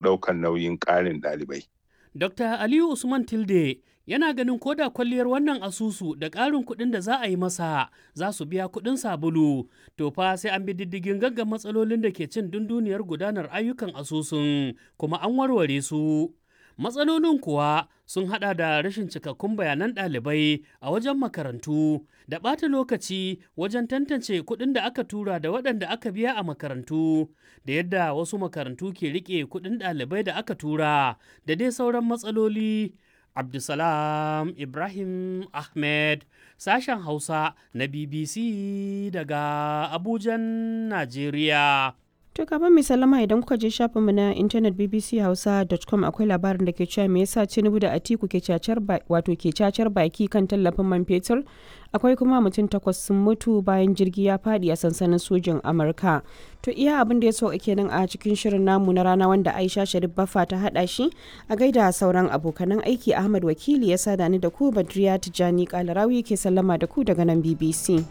Ɗaukan nauyin ƙarin ɗalibai. Dr. Aliyu Usman Tilde yana ganin koda kwalliyar wannan asusu da ƙarin kuɗin da za a yi masa za su biya kuɗin sabulu, to fa sai an bi diddigin gaggan matsalolin da ke cin dunduniyar gudanar ayyukan asusun kuma an warware su. Matsalolin kuwa sun hada da rashin cikakkun bayanan ɗalibai a wajen makarantu da ɓata lokaci wajen tantance kuɗin da aka tura da waɗanda aka biya a makarantu da yadda wasu makarantu ke riƙe kuɗin ɗalibai da aka tura da dai sauran matsaloli. Abdulsalam Ibrahim Ahmed, sashen Hausa na BBC daga Abujan, Najeriya. To kafin mai sallama, idan kuka je shafinmu na intanet bbchausa.com, akwai labarin da ke cewa me yasa Tinubu da Atiku ke cacar, wato ke cacar baki kan tallafin man fetur. Akwai kuma mutum 8 sun mutu bayan jirgi ya fadi a sansanin sojin Amurka. To iya abin da ya sauka kenan a cikin shirin namu na rana wanda Aisha Sharif Baffa ta hada shi. A gaida sauran abokanan aiki, Ahmad Wakili ya sada ni da ku, Badriya Tijani Kalarawi ke sallama da ku daga nan BBC.